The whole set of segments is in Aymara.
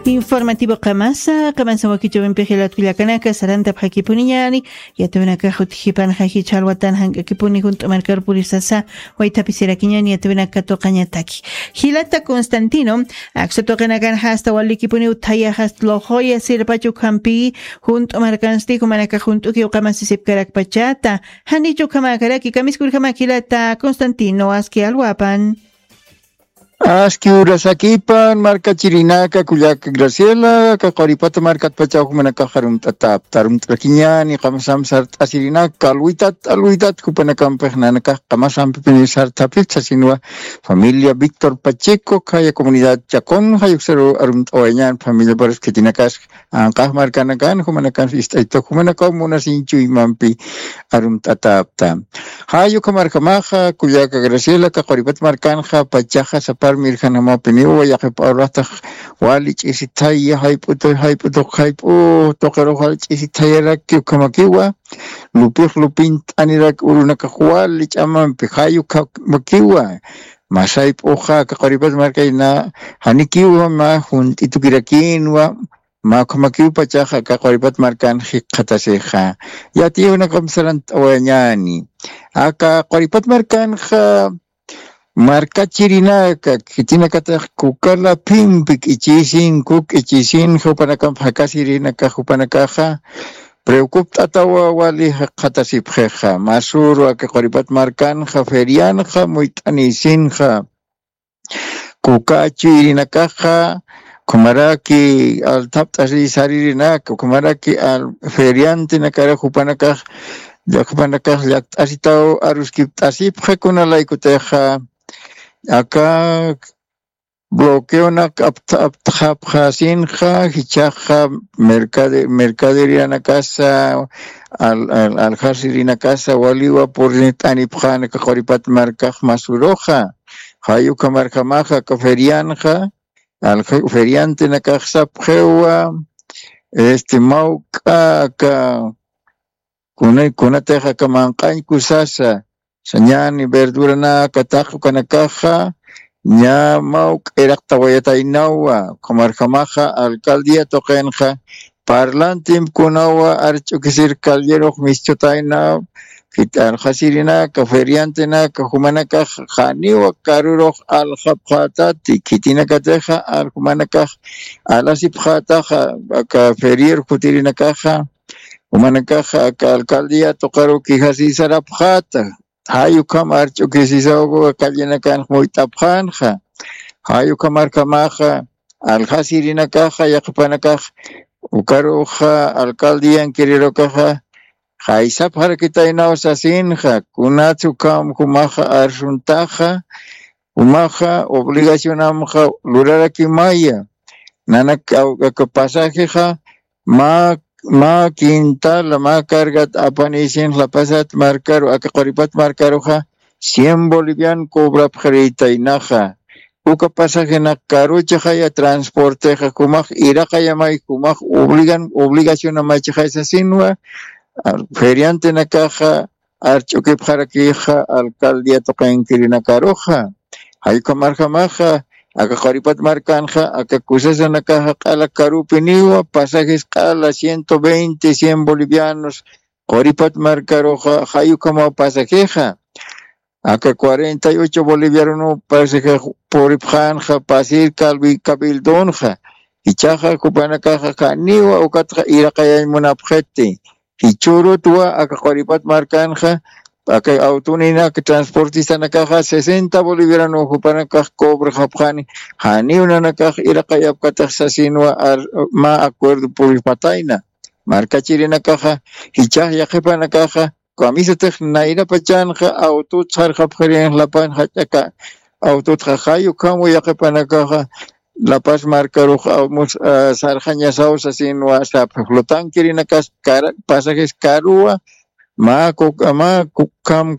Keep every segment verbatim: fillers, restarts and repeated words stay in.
Informativo qamasa qamasa wakichawimpi jilat kullakanaka sarantapxakipuniñani. Yatawinakax utjipanxa jichha alwatan jank'akipuni junt'u markar purisasa waythapisirakiñani yatawinaka tuqañataki. Jilata Constantino, aksa tuqinakanxa asta walikipuni uthayax asta loqoya sirpachu ukhampi junt'u markansti jumanakax junt'uki uqamasisipkarakpachata. Janichu ukhamakaraki kamiskurjamak jilata Constantino aski alwapan. Aski urasakipan markachirinaka kullaka Graciela, kaquripata markatpachaw jumanakax arumt'atapta arumt'akiñani qamasam sart'asirinaka alwitat alwitat jupanakampix nanakax qamasampipini sartapipta sinwa. Familia Víctor Pacheco khaya comunidad Chacón jayuksaru arumt'awayañan familia paras khitinakas anqax markanakan jumanakan ist'ayta jumanakaw munasiñ chuymampi arumt'atapta. Jay ukhamarjamaxa kullaka Graciela kaquripat markanxa pachaxa sapar mirjanamapiniwa yaqip uraqtax wali ch'isithaya jayp'utu jayp'utu jayp'u tuqirux wali ch'isithayaraki ukhamakiwa. Lupix lupint'anirak urunakax wali ch'amampi jay ukhamakiwa. Masayp'uxa kaquripat markayna janikiwa mä junt'itukirakinwa. Mä ukhamakiw pachaxa kaquripat markan jikxatasixa. Yatiyunakamp sarant'awayañani aka quripat markanxa markachirinaka khitinakatax kukala phimpi k'ichisinku k'ichisinxa jupanakamp jakasirinaka jupanakaxa preocupt'atawa wali jikxatasipxixa masuru aka quripat markanxa ferianxa muyt'anisinxa. Kuka chuyrinakaxa ukhamaraki althapt'asi saririnaka ukhamaraki feriantenakara jupanakax jupanakax llakt'asitaw aruskipt'asipxakuna laykutixa aka bloqueonak aptxapxasinxa jichhaxa mercaderianakasa aljasirinakasa waliwa purrit'anipxanaka quripat markax masuruxa. Jay ukhamarjamaxa aka ferianxa feriantenakax sapxiwa este mawk'a aka kunatix aka manq'añ kusasa sañani verduranaka taq ukanakaxa ña mawk'a iraqtawayataynawa ukhamarjamaxa alcaldía tuqinxa parlantimkunawa arch'ukisir callerux mischutayna. Jit'arxasirinaka feriantenaka jumanakax janiwa karurux aljapxätati khitinakatixa jumanakax alasipxätaxa aka ferier kutirinakaxa jumanakaxa aka alcaldía tuqaru quejasisarapxäta. Jay ukham arch'ukisisaw callenakanx muyt'apxänxa jay ukhamarjamaxa aljasirinakaxa yaqhipanakax ukaruxa alcaldian quererokaxa jaysapxarakitaynaw sasinxa kunats ukham jumaxa arsuntaxa jumaxa obligacionamxa lurarakimaya. Nanak pasajexa mä mä quintala mä cargat apanisinx lapasat markaru aka quripat markaruxa cien bolivian cobrapxarïtaynaxa. Uka pasajenak karuchaxaya transportexa jumax iraqayamay jumax obligan obligacionamachaxay sasinwa feriantenakaxa arch'ukipxarakixa alcaldía tuqinkirinakaruxa. Jay ukhamarjamaxa aka quripat markanxa aka kusasanakaxa q'ala karupiniwa pasajes q'ala ciento veinte cien bolivianos quripat markaruxa jay ukhamaw pasajexa aka cuarenta y ocho boliviarunuw pasajex puripxänxa pasir cabildonxa. Jichhaxa jupanakaxa janiwa ukatxa iraqayañ munapxiti. Jichhürutwa aka quripat markanxa aka awtuninak transportistanakaxa sesenta bolivianuw jupanakax cobrxapxani janiw nanakax iraqayapkatix sasinwa mä acuerdo puripatayna. Markachirinakaxa jichhax yaqhipanakaxa kamisatix nayrapachanxa awtut sarxapxirinx lapan jach'aka awtutxa jay ukham yaqhipanakaxa lapas markarux sarxañasaw sasinwa sapxi flotanquerinakas pasajes karuwa mä mä ukham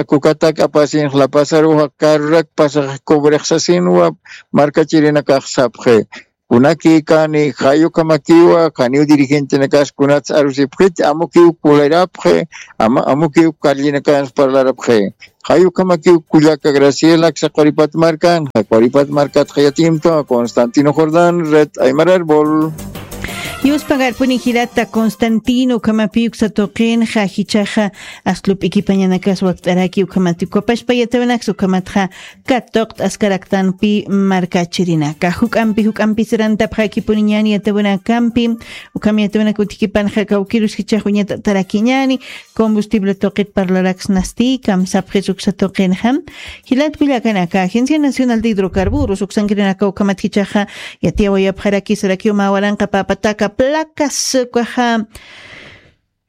kukatak apasinx lapasaruxa karurak pasax cobrix sasinwa markachirinakax sapxi. kunakïkani, jayukamakiwa, janiw dirigentenakas kunats arusipxit, amukiw kularapxi, ama, amukiw karllinakans parlarapxi. Jayukamakiw kullaka Graciela, aksa Quripat markan, Quripat markat jayatimta, Constantino Jordán, Red Aymar Árbol. Yuspagarpuni jilata Constantino, ukhamapi uksa tuqinxa jichhaxa aslup'ikipañanakas wakt'araki ukhamati ukapashpa yatawinaksa ukhamatxa katuqt'askaraktanpi markachirinaka. Juk'ampi, juk'ampi sirantapxakipuniñani yatawinakampi, ukham yatawinaka utjikipanxa kawkirus jichhax uñat'atarakiñani, combustible tuqit parlaraksnasti, kamsapxis uksa tuqinxa. Jilat kullakanaka, Agencia Nacional de Hidrocarburos, uksankirinaka ukhamat jichhaxa, yatiyawayapxaraki sarakiw mä waranqa papataka placas ukaxa,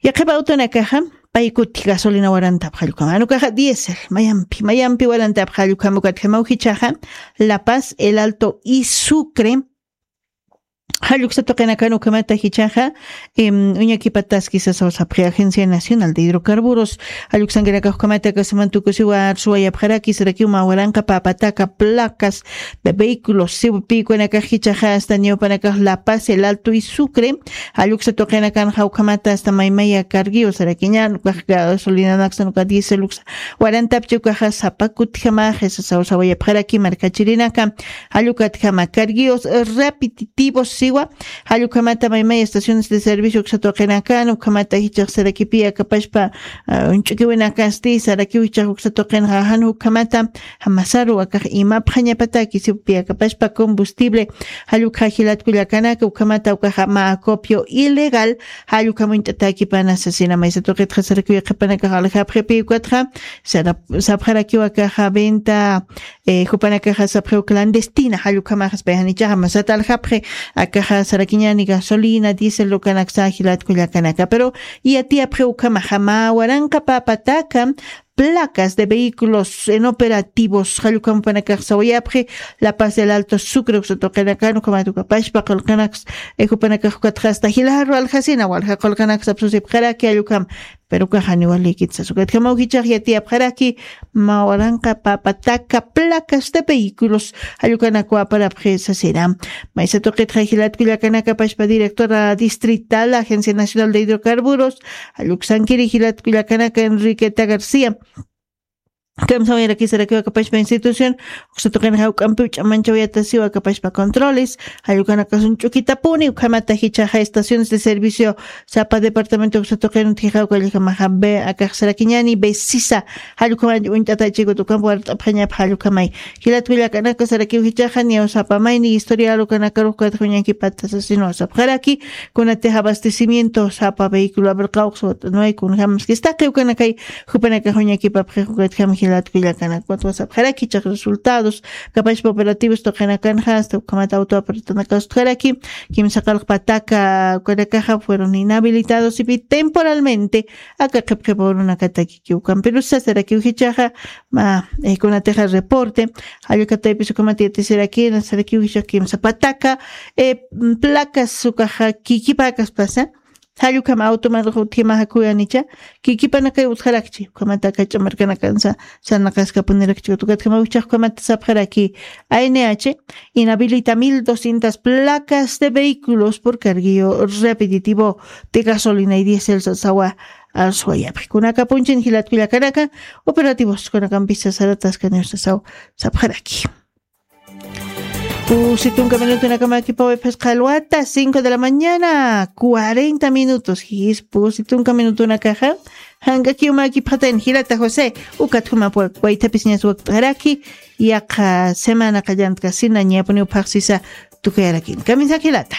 yaqhip awtunakaxa, paykuti gasolina warantapxallukama. Anukaxa diésel, mayampi, mayampi warantapxallukama ukatjamaw jichhaxa, La Paz, El Alto y Sucre. Jalluksa tuqinakan ukhamata jichhaxa, em, uñakipataski sasaw sapxi Agencia Nacional de Hidrocarburos. Jalluksankinakax ukhamata kasaman tukusiwa arsuwayapxaraki sarakiw mä waranqa papataka placas de vehículos, siwpïkunakax jichhaxa hasta ñawpanakax La Paz, El Alto y Sucre. Jalluksa tuqinakanxa ukhamata hasta maymaya carguio sarakiñan, ukax gasolinanaksan uka diésel uksa warantapchi ukaxa sapa kutjamaxi sasaw sawayapxaraki markachirinaka. Jallukatjama carguios repetitivos siwa, jallukhamata maymay estaciones de servicio uksa tuqinakan, ukhamata jichhax sarakipi akapashpa, ah, uñch'ukiwinakasti, sarakiw jichhax uksa tuqinxa jan ukhamata, jamasaru akax imapxañapataki siwpi akapashpa combustible, jallukxa jilat kullakanaka, ukhamata ukaxa mä acopio ilegal, jallukhamuñt'ataki pana sasina maysa tuqitxa sarakiw yaqhipanakax aljapxipi ukatxa, sara-, sapxarakiw akaxa venta, eh, jupanakaxa sapxiw clandestina, jallukhamaxas payxanichaxa masat aljapxi, akaxa sarakiñani gasolina, diésel ukanaksa jilat kullakanaka. Pero yatiyapxi ukhamaxa mä waranqa papataka, placas de vehículos inoperativos, jallukhamupanakax sawayapxi, La Paz, El Alto, Sucre, uksa tuqinakan, ukhamat ukapashpa qullqinaks, eh, jupanakax ukatxa hasta jilaru aljasina, walja qullqinaks apsusipxaraki, jallukham, pero ukax janiw walikit sas. Ukatjamaw jichhax yatiyapxaraki, mä waranqa papataka placas de vehículos, jallukhanakwa aparapxi sasina. Maysa tuqitxa jilat kullakanaka pashpa directora distrital Agencia Nacional de Hidrocarburos, jalluksankiri jilat kullakanaka Enriqueta García. Kamsawayarakiw sarakiw akapashpa institución, uksa tuqinxa juk'ampiw ch'amanchawayatasiw akapashpa controles, jallukhanakasun ch'ukitapuni, ukhamata jichhaxa estaciones de servicio sapa departamento uksa tuqin utjixaw kallajamaxa be akax sarakiñani besisa, jallukhamay uñt'atachikut ukampi wart'apxañapxa jallukhamay. Jilat kullakanaka sarakiw jichhaxa niyaw sapa mayni historial ukanakarux ukatxa uñakipata sasina sapxaraki, kunatix abastecimiento sapa vehículo abrirqaw uksa wat'anway kunjamaskis taqi ukanakay, jupanakax uñakipapxix ukatjam jilat kullakanaka, ukatwa sapxaraki jichhax resultados, kapashpa operativos tuqinakanxa hasta ukhamat auto apartanakas utjaraki, kimsa qallq pataka ukanakaxa fueron inhabilitados ipi temporalmente, aka qhipqhipa urunakataki kiwkampirusa sarakiw jichhaxa, mä, eh, kunatixa reporte, jallukataypis ukhamat yatisiraki, sarakiw jichhax kimsa pataka, eh, placas ukaxa kikipäkaspasa, jallukham automar utjimaxa kuyanicha, kikipanakay utjarakchi, ukhamat aka ch'amarkanakansa, sarnaqaskapunirakchi, ukatjamaw jichhax ukhamat sapxaraki, A N H inhabilita mil doscientas placas de vehículos por carguillo repetitivo de gasolina y diésel sasawa, arsuwayapxi. Kunakapunchin jilat kullakanaka, operativos kunakampisa sarataskaniw sasaw sapxaraki. Pusi tunka minutonakama kipawi phisqa alwata, cinco de la mañana, cuarenta minutos. Jis, pusi tunka minutonakaxa, jank'akiw mä kipxatayn jilata José, ukat juma pwa-, waythapis ñas wakt'araki, yaqha semana qallant'kasina ñapuniw phaxsisa tukayarakini. Kamisaki jilata.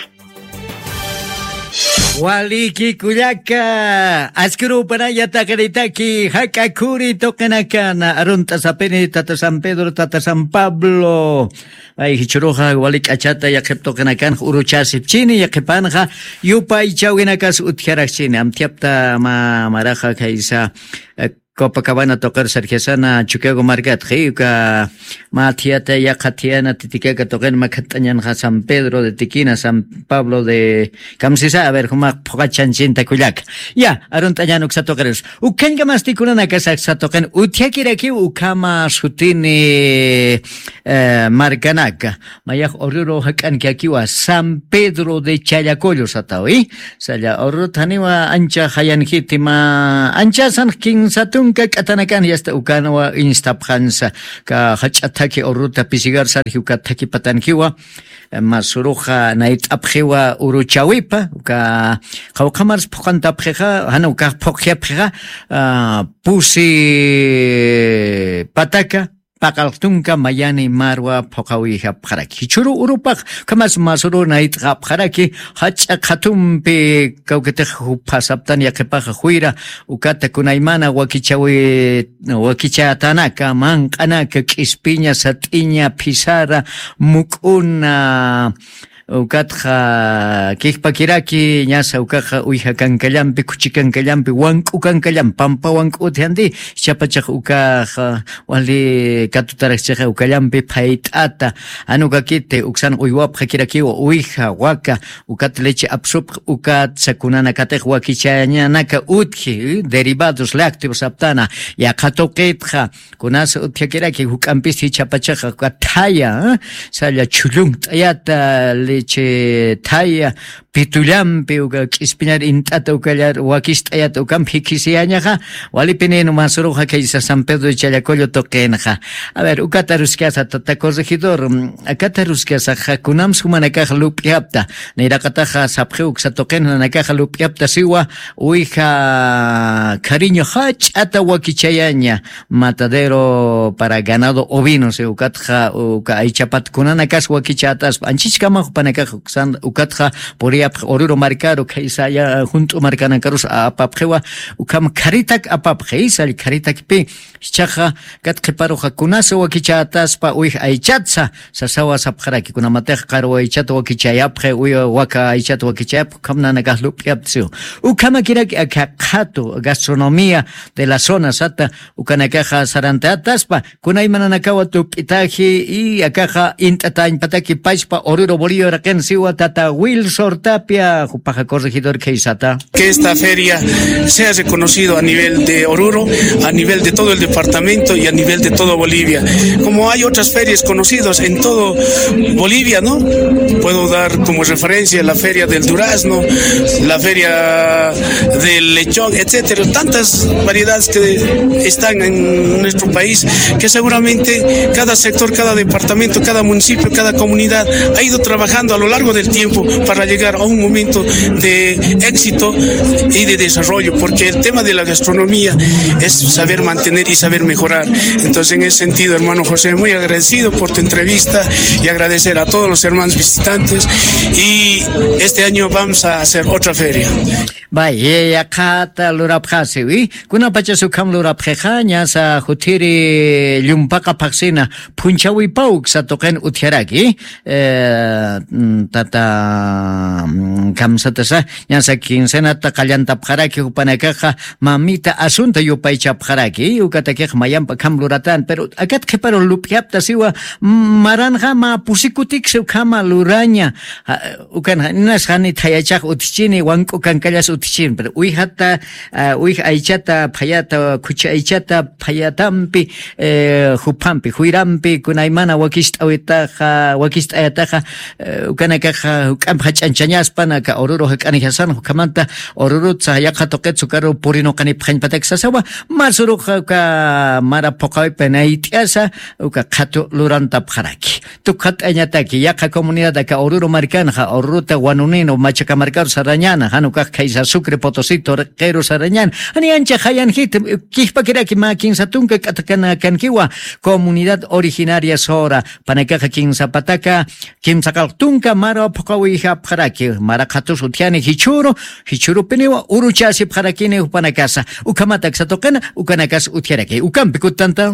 Waliki kullaka, askirupanaya taqinitaki, jak'a khuri tuqinakan, arunt'asapini tata San Pedro, tata San Pablo. Ay, jichhuruxa wali k'achata yaqhip tuqinakan uruchasipchini, yaqhipanxa yupaychawinakas utjarakchini. Amthiapta ma-, maraxa khaysa, eh, Copacabana tuqir sarjasana Chukiyawu markatxi, uka mä thiyata yaqha thiyana Titicaca tuqin makhat'añanxa San Pedro de Tiquina, San Pablo de Kamsisa, a ver, jumax phuqachanchinta kullaka. Ya, arunt'añan uksa tuqirus. Ukhañkamasti kunanakasax uksa tuqin utjakirakiw ukhama sutini, eh, markanaka. Mayax Oruro jak'ankakiwa San Pedro de Challacollo satawi. Salla Oruro thaniwa ancha jayanjiti ma anchasan kinsa tunka k'atanakan yasta ukanwa instapxansa. Ka jach'a thaki Orurota pisigar sarji uka thaki patankiwa. Masuruxa nayt'apxiwa uruchawipa, uka qawqhamars phuqantapxixa, jana ukax phuqjapxixa, ah, pusi pataka, paqalx tunka mayani marwa phuqawiyjapxaraki. Jichhuru urupax, ukhamas masuru nayt'xapxaraki, jach'a qhatumpi kawkitix jupasaptan yaqipaxa juyra, ukata kunaymana wakichawi, wakichatanaka, manq'anaka, k'ispiña, sat'iña, phisara, muk'una, ukatxa kijpakiraki, ñasa ukaxa uyja kankallampi, khuchi kankallampi, wank'u kankallampi, pampa wank'u utjandi, jichhapachax ukaxa, wali katutaraxchixa ukallampi phayt'ata, jan ukakiti, uksan uywapxakirakiwa, uyja, waka, ukat leche apsupx, ukat sakunanakatix wakichañanaka utji, derivados lácteos aptana, yaqha tuqitxa, Kunas utjakiraki juk'ampis jichhapachaxa uka thaya, ¿eh? Salla chhullun t'ayata, leche thaya, pitullampi, uka k'ispiñar int'ata ukallar, wakis t'ayata, ukampi jikisiyañaxa, walipininu masuruxa kaysa San Pedro de Challacollo tuqinxa. A ver, ukata ruskasa tata corregidor, mm, akata ruskasaxa, kunams jumanakax lup'yapta, nayraqataxa sapxiw uksa tuqin nanakaxa lup'yapta siwa, Uwija Cariño jach'ata wakichayaña, matadero para ganado ovino, si ukatxa, uka aychapat kunanakas wakichätaspa, anchichkama jupanakax uksan, ukatxa puriyapx Oruro markaru, khaysa ya, junt'u markanakarus apapxiwa, ukham kharitak apapxi, sall kharitakpi, jichhaxa, kat qhiparuxa kunasa wakichätaspa, uwij aychatsa, sasawa sapxaraki, kunamatix qarwa aychata wakichayapxi, uy-, waka aychata wakichayapxi, ukham nanakax lup'yaptasiw. Ukhamakiraki aka qhatu gastronomía de la zona sata, ukanakaxa sarantataspa, kunaymananakawa tup'itaji, y akaxa int'atañpataki pachpa Oruro Bolivia uraqin siwa tata Wilsor Tapia, jupaxa corregidor khaysata. Que esta feria sea reconocido a nivel de Oruro, a nivel de todo el departamento y a nivel de toda Bolivia. Como hay otras ferias conocidas en todo Bolivia, ¿no? Puedo dar como referencia la feria del durazno, la feria del lechón, etcétera. Tantas variedades que están en nuestro país que seguramente cada sector, cada departamento, cada municipio, cada comunidad ha ido trabajando a lo largo del tiempo para llegar a un momento de éxito y de desarrollo, porque el tema de la gastronomía es saber mantener y saber mejorar. Entonces, en ese sentido, hermano José, muy agradecido por tu entrevista y agradecer a todos los hermanos visitantes. Y este año vamos a hacer otra feria. Bay, yaqhata lurapxasiwi, kunapachas ukham lurapxixa, ñasa juthiri llumpaqa phaxsina, phunchhawipaw uksa tuqin utjaraki, eh, mm, tata, mm, kamsatasa, ñasa quincenata qallantapxaraki, jupanakaxa mamita asunta yupaychapxaraki, ukatakix mayampa kham luratan, pero akat qhiparu lup'yaptasiwa, mm, maranxa mä pusikutiksi ukhama luraña, ja, ukan ja, inas jani thayachax utjchini, wank'u kankallas utjchini, pero uwijata, ah, uwij aychata, phayata, khuchi aychata, phayatampi, eh, juphampi, juyrampi, kunaymana wakist'awitaxa, wakist'ayataxa, eh, ukanakaxa, juk'amp jach'anchañaspan, aka Oruro jak'anixasan, jukhamanta Orurutsa yaqha tuqit sukaru purinuqanipxañpatak sasawa, masuruxa uka mara phuqawipi nayt'yasa, uka qhatu lurantapxaraki. Tukxat'añataki, yaqha comunidad aka Oruro markanxa, Oruruta Wanunino, Machaca markaru sarañana, jan ukax khaysa Sucre Potosí, Torquero sarañana, jani ancha jayanjiti, kijpakiraki mä kinsa tunka k'atakanakankiwa, comunidad originaria sora, panakaxa kinsa pataka, kimsa qallq tunka mara phuqawijapxaraki, mara qhatus utjani jichhuru, jichhurupiniwa uruchasipxarakini jupanakasa, ukhamat aksa tuqina, ukanakas utjaraki, ukampi kutanta.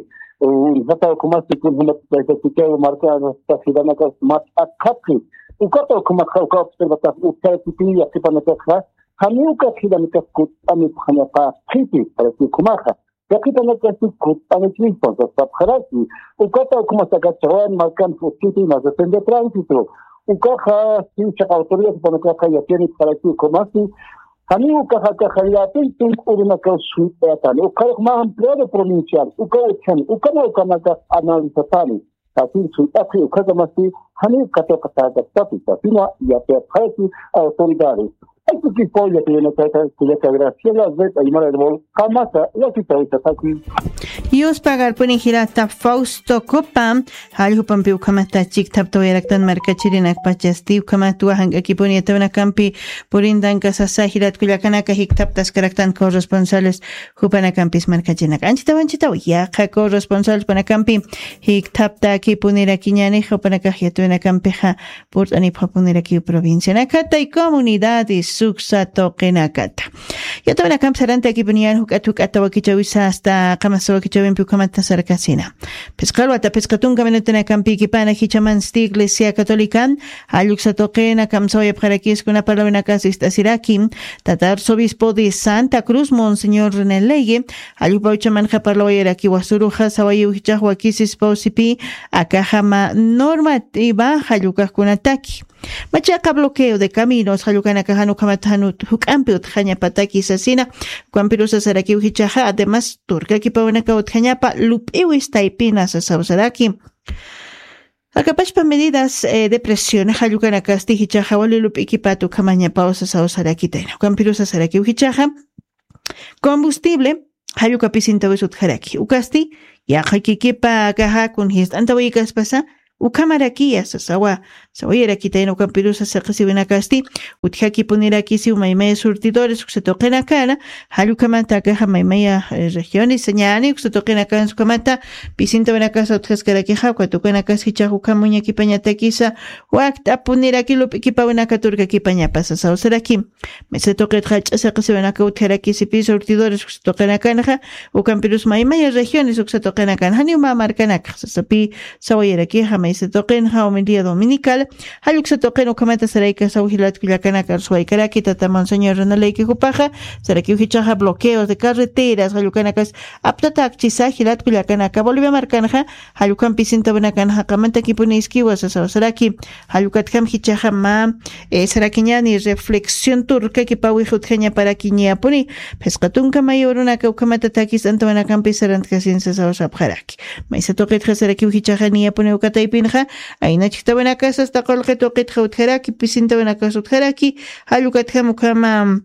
Uñjata ukhamasti kunjämat taytachikiw markanakax jilanakax mä t'aqhapxi. Ukata ukhamatxa uka observatax utjarakipini yaqhipanakaxa, janiw ukat jilanakax kutt'anipxañapaxiti, paraki ukhamaxa. Yaqhipanakaxti kutt'anipxi, entonces sapxaraki. Ukata ukhamas aka chawan markan utjiti, más depende tránsito. Ukaxa, si chaq autoridad panakaxa yatiyanipxaraki ukhamasti, janiw ukaxa aka jallapin tunk'u urunakaw suyt'ayatani. Ukharux mä empleado provincial, uka utjani, ukana ukanakax analizatani. Sasin suyt'apxi ukhakamasti, janiw katuqatäkaptapis, sasina yatiyapxaraki autoridades. Aykukipaw yatiyanakayta, kullaka Graciela Red Aymara Herbol, qamasa, yatitawisataki. Yuspagarpuni jilata Fausto Copa, jallq'upampi ukhamata chikthaptawayaraktan markachirinakpachasti, ukhamatwa jank'akipuni yatawanakampi purintanka sasa jilat kullakanaka jikthaptaskaraktan corresponsales jupanakampis markachirinaka. Anchitaw, anchitaw, yaqha corresponsales panakampi jikthaptakipunirakiñani, jupanakax yatawanakampixa purt'anipxapunirakiw provincianakata y comunidades suksa tuqinakata. Yatawinakampi sarantakipuniyan juk'at juk'ata wakichawisa asta qamasa wakichawimpi ukhamata sarkasina. Phisqa alwata phisqa tunka minutunakampi ikipana jichamansti Iglesia Católica jalluksa tuqina kamsawayapxarakis kuna parlawinakas ist'asiraki. Tata arzobispo de Santa Cruz, Monseñor René Leye, jallukpa uchamanxa parlawayaraki wasuruxa sawayiw jichax wakisispaw sipi akaxama normativa jallukaqkunataki. Machaqa bloqueo de caminos, jallukanakaxa nukhamata juk'ampi utjañapataki sasina. Ukampirusa sarakiw jichaxa, además turkakipawinaka utjañapa lup'iwis taypina sasaw saraki. Akapachpa medidas eh, de presión jallukanakasti jichaxa wali lup'ikipat ukhamañapaw sasaw sarakitayna. Ukampirusa sarakiw jichaxa, combustible jallukapisintawis utjaraki ukasti, yaqha kikipa kaja kun jist'antawaykaspasa ukhamarakiya sasawa. Sawayarakitayna ukampirusa saqisiwinakasti, utjakipunirakisiw maymaya surtidores uksa tuqinakana. Jallukhamata kaja maymaya eh, regiones ñani uksa tuqinakansa ukhamata pisintawinakasa utjaskarakixa ukat ukanakas jichax ukham uñakipañatakisa wakt'apuniraki lup'ikipawinaka turkakipañapa sasaw saraki. Mesa tuqitxa ch'asa qisiwanaka utjarakisipi surtidores uksa tuqinakanxa, ukampirus maymaya regiones uksa tuqinakan janiw mä markanakxa sasapi. Sawayarakixa mesa tuqinxa humildía dominical, jalluksa tuqin ukhamata saraykasaw jilatkullakanaka arsuwaykaraki tata monseñor runaleyki jupaxa. Sarakiw jichaxa bloqueos de carreteras jallukanakas aptatakchisa jilatkullakanaka bolivia markanxa. Jallukam pisintawinakan jaqamantakipuniskiwa sasaw saraki. Jallukatjam jichaxa mä eh, sarakiñani reflexión turkakipawix utjañaparaki ñiyapuni. Phisqa tunka mayurunaka ukhamata takis antawanakampi sarantkasin sasaw sapxaraki. Maysa tuqitxa sarakiw jichaxa niyapuni ukataypinxa, ayna chijtawinakas asta qulqi tuqitxa utjaraki pisintawinakas utjaraki. Jallukatjam ukhama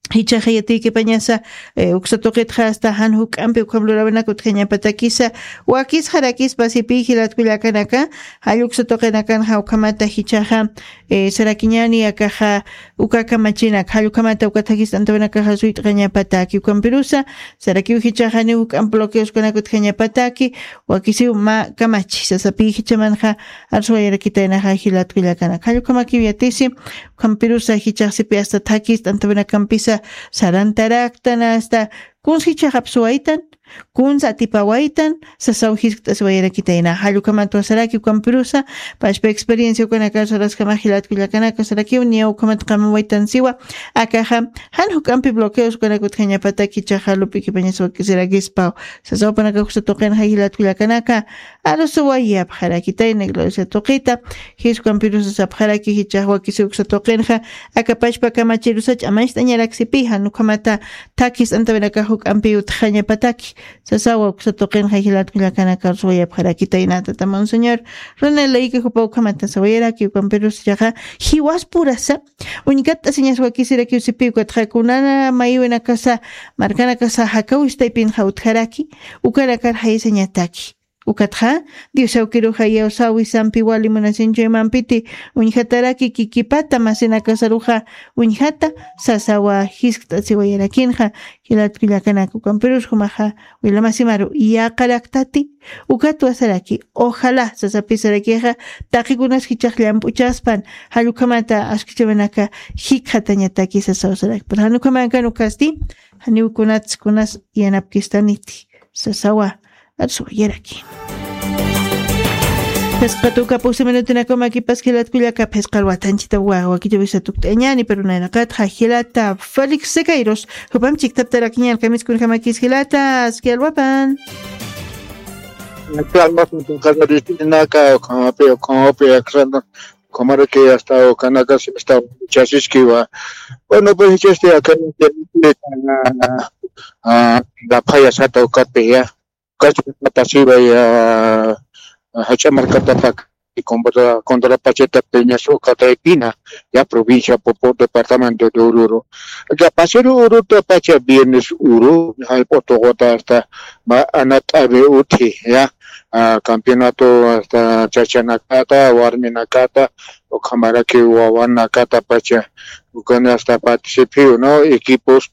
jichaxa yatiykipañasa eh, uksa tuqitxa asta jan juk'ampi ukham lurawinaka utjañapatakisa. Wakisxarakispa sipi jilatkullakanaka, jalluksa tuqinakanxa ukhamata jichaxa eh, sarakiñani akaxa uka kamachinak jallukhamata uka thakist'antawinakaxa suyt'qañapataki ukampirusa. Sarakiw jichaxa niw juk'amp bloqueoskunak utjañapataki, wakisiw mä kamachi sasapi jichamanxa. Arsuwayarakitaynaxa jilatkullakanak jallukhamakiw yatisi. Ukhampirusa jichaxsipi asta thakist'antawinakampisa sarantaraktana asta kunsa jichaxapsuwaytan, kunsa atipawaytan sasaw jiskt'asiwayarakitayna jallukhamatwa saraki ukampirusa. Pachpa experiencia ukanakar saraskama jilatkullakanaka sarakiw niya ukhamat qamawaytan siwa. Akaxa jan juk'ampi bloqueos ukanak utjañapataki jichaxa lup'ikipañas wakisirakispaw. Sasawapanaka uksa tuqinxa jilatkullakanaka, arusuwayapxarakitayna iglesia tuqita. Jiskampirusa sapxaraki jichax wakisi uksa tuqinxa, akapachpa kamachirusa ch'amañcht'añaraksipi jan ukhamata thakist'antawinakax juk'ampi utjañapataki. Sasawa uksa tuqinxa jilatkullakanaka arusuwayapxarakitayna tata monseñor. Runaleyki jupa ukhamata sawayaraki ukampirusa jiwaspurasa uñkatt'asiñas wakisirakiw sipi ukatxa kunana mayiwinakasa markanakasa jakawistaypinxa utjaraki. Ukanakar jayisañataki. Ukatxa dios awkiruxa yawsawisampi wali munasinchuymampiti uñjataraki kikipata masinakasaruxa uñjata. Sasawa jiskt'asiwayarakinxa. Jilatkullakanaka ukampirus jumaxa, wilamasimaru yaqaraktati. Ukatwa saraki ojalá sasapi sarakixa taqikunas jichax llamp'uchaspan jallukhamata askichawinaka jikxatañataki sasaw sarakpan jan ukhamankan ukasti. Janiw kunats kunas yanapkistaniti sasawa. Arsuwayaraki. Phisqa tuka pusi minutinakamakipas jilatkullaka phisqa alwatanchita wakichawisa tukt'añani pero nayraqatxa jilata félix sequeiros jupam chiktaptarakiñan kamiskunjamakis jilata aski alwapan. Alwapan tuqaristinaka ukhamapi ukhamapi aksana ukhamaraki asta ukanakas asta chasiskiwa. Bueno pues hichasti akani lapayasata ukatpi ya kachpatasiwa ya hach'a markatapa contra pachata peñas ukataypina ya provincia popo departamento de ururu. Ya pasero uruta pacha viernes uru hay potoqota asta ma anat'avi uthi ya campeonato asta chachanakata warminakata ukhamaraki wawanakata pacha ukana asta participiw no equipos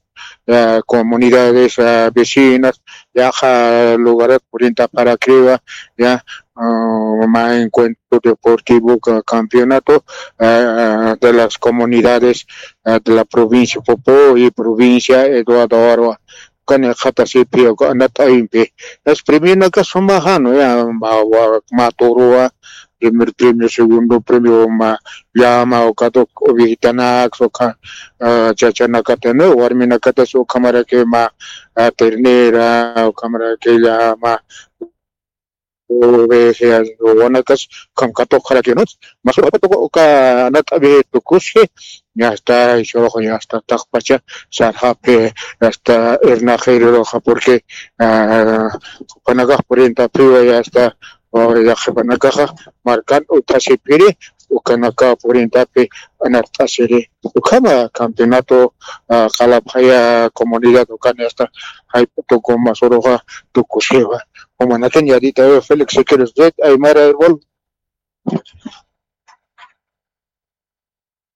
comunidades vecinas yaqa lugarat purintaparakriwa ya ah, mä encuentro deportivo, ca-, campeonato, ah, de las comunidades, ah, de la provincia Popo y provincia Eduardo Arwa. Kani jatasipi, anat'awimpi. Es premio naka suma jano, ya, ma, wa, ma toro, primer premio, segundo premio, ma, llama, o kato, o viejitanax, o ka, ah, chachanakatana, warminakatas, o kamaraki ma, ah, ternera, o kamaraki llama, ovejas, wawanakas, kamkatoqarakiwanus, masurapato, uka, nat'abi tukusi, ya está, y solo ya está, taqpacha, sarjapi, ya está, hernajiruroja, porque, ah, panakax puriyanta piwa, ya está, o ya panakaxa, markan, utasipiri, ukanaka puriyanta pi, anart'asiri, ukama, campeonato, ah, qalapxaya, comunidad, ukan, ya está, hay, tuku, masuruxa, tukusiwa. Umanakan yadita, Félix Sequeiros, Red Aymara Herbol.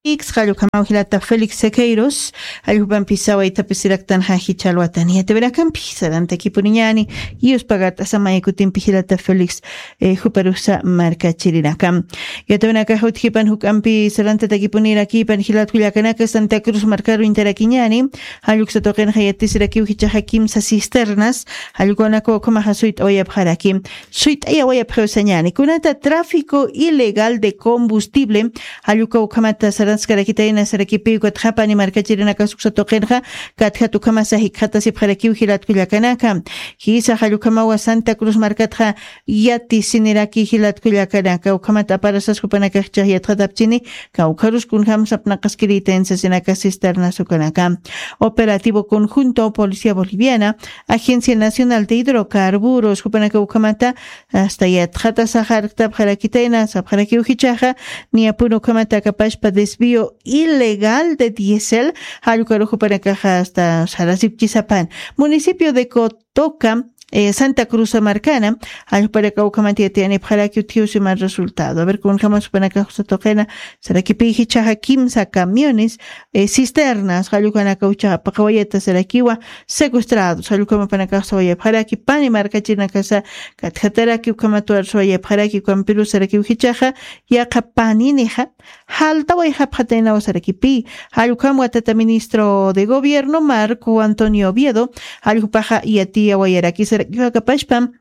Ix, qallukamaw jilata Félix Sequeiros, alljupampisa waytapisiraktan jajicha alwatan. Yatawirakampi, sarantakipuniñani, yuspagat asamaykutimpi jilata Félix, eh, juparusa markachirinakam. Yatawinakax utjipan juk'ampi sarantatakipunirakïpan jilat kullakanaka Santa Cruz markaru intarakiñani, jalluksa tuqinxa yatisirakiw jichaxa kimsa cisternas, jallukwanaka ukhamaxa suyt'awayapxaraki. Suyt'ayawayapxiw sañani. Kunata tráfico ilegal de combustible, jalluka ukhamata saranskarakitayna sarakipi ukatxa pani markachirinaka suksa tuqinxa, katjat ukhamasa jikxatasipxarakiw jilat kullakanaka. Jisa jallukhamawa Santa Cruz markatxa yatisiniraki jilat kullakanaka. Ukhamata aparasas jupanakaxchix yatxatapchini, kawkharus kunjam sapnaqaskirïtayn sasinaka cisternas ukanaka. Operativo conjunto Policía Boliviana, Agencia Nacional de Hidrocarburos, jupanaka ukhamata, hasta yatxata saxarktapxarakitayna, sapxarakiw jichaxa, niyapun ukhamata akapashpa desvío ilegal de diésel, jallukaru jupanakaxa hasta sarasipchisapan. Municipio de Cotoca, eh, Santa Cruz markana, jallpanaka ukhamata yatiyanipxaraki utjiw siman resultado. A ver, kunjamas jupanakax usa tuqina, sarakipi jichaxa kimsa camiones, eh, cisternas, jallukanaka uchaxa paqawayata sarakiwa, secuestrados, jallukamapanakax sawayapxaraki, pani markachirinakasa, katjataraki ukhamatuwar sawayapxaraki, ukampiru sarakiw jichaxa, yaqha paninixa, jaltawayxapxataynawa sarakipi, jallukam watata ministro de gobierno, Marco Antonio Oviedo, jallupaxa yatiyawayaraki sarakiwa akapashpam,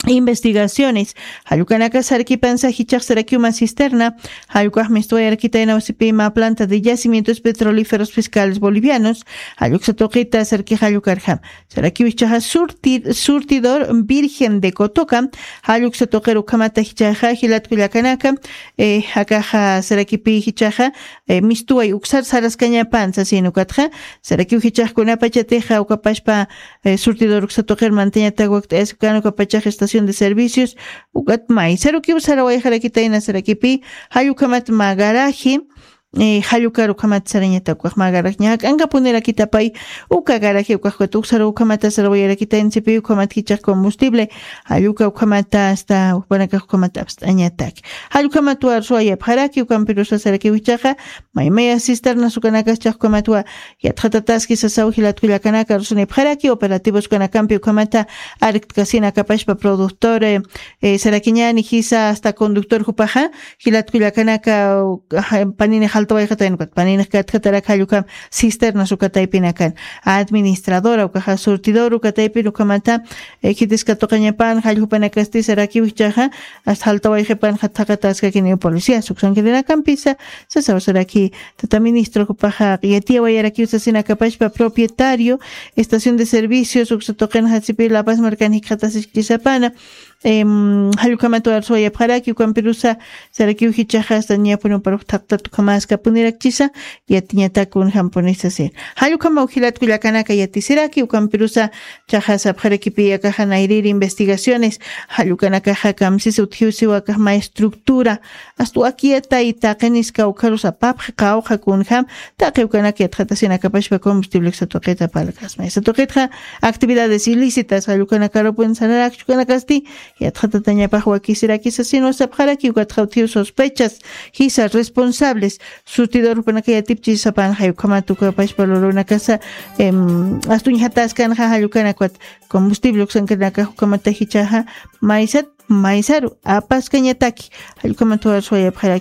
investigaciones. Jallukanaka sarkipansa jichax sarakiw mä cisterna, jallukax mistuwayarkitayna wasipi mä planta de yacimientos petrolíferos fiscales bolivianos, jalluksa tuqita sarki jallukarjam. Sarakiw jichaxa surti-, surtidor Virgen de Cotoca, jalluksa tuqir ukhamata jichaxa jilat kullakanaka, eh, akaxa sarakipi jichaxa, eh, mistuway uksar saraskañapan sasin ukatxa, sarakiw jichax kunapachatixa ukapashpa, eh, surtidor uksa tuqir mantañatak wakt'ayaskan ukapachax estación de servicios, ukat maysarukiw sarawayxarakitayna sarakipi, jallukhamat mä garaje, eh, jallukar ukhamat sarañatak ukax mä garaje ñak'ankapunirakitapay, uka garaje ukax ukat uksaru ukhamata sarawayarakitayna sipi ukhamat jichax combustible, jalluka ukhamata hasta ukpanakax ukhamata apst'añatak. Jallukhamatwa ruwayapxaraki, ukampirusa sarakiw jichaxa, maymaya cisternas ukanakax chax ukhamatwa yatxatataski sasaw jilat kullakanaka rusunipxaraki, operativos ukanakampi ukhamata arktkasin akapashpa productor, eh, eh, sarakiñani jisa hasta conductor jupaxa, jilat kullakanaka, ah, panini jaltawayxatayna ukat, panini katjatarak jallukam cisternas ukataypinakan, administradora ukaxa surtidor ukataypin ukhamata, eh, khitiska tuqañapan, jalljupanakasti sarakiw jichaxa, hasta jaltawayxipan jatxaqataskakiniw policía, suksankirinakampisa, sasaw saraki, tata ministro jupaxa, yatiyawayarakiw sasinakapashpa propietario, estación de servicios, uksa tuqin jasipi La Paz markan jikxatasiskisapana, em, jallukhamat warsuwayapxaraki, ukampirusa, sarakiw jichaxa, hasta ñapun uparux thaqtat ukhamaskapunirakchisa, yatiñatak kunjampunisa sir. Jallukhamaw jilat kullakanaka yatisiraki, ukampirusa, chaxa sapxarakipi akaxa nayrïri investigaciones, jallukanakaxa kamsis utjiw siwa akax mä estructura, hasta wakiyatay taqinis kawkharus apapxi qawqha kunjam, taqi ukanak yatxatasin akapashpa combustible uksa tuqita parlkasma. Esa tuqitxa actividades ilícitas, jallukanakarupun sararakchukanakasti, yatxatatañapax wakisirakisa, sino sapxaraki ukatxa utjiw sospechas, jisa responsables, surtidor jupanaka yatipchisapan, jallukhamat ukapashpa lurunakasa, em, astuñjataskanxa jallukanakwat combustible uksankanakax ukhamata jichaxa, maysat Maysaru apaskañataki, allkumantuwar suwayapxara.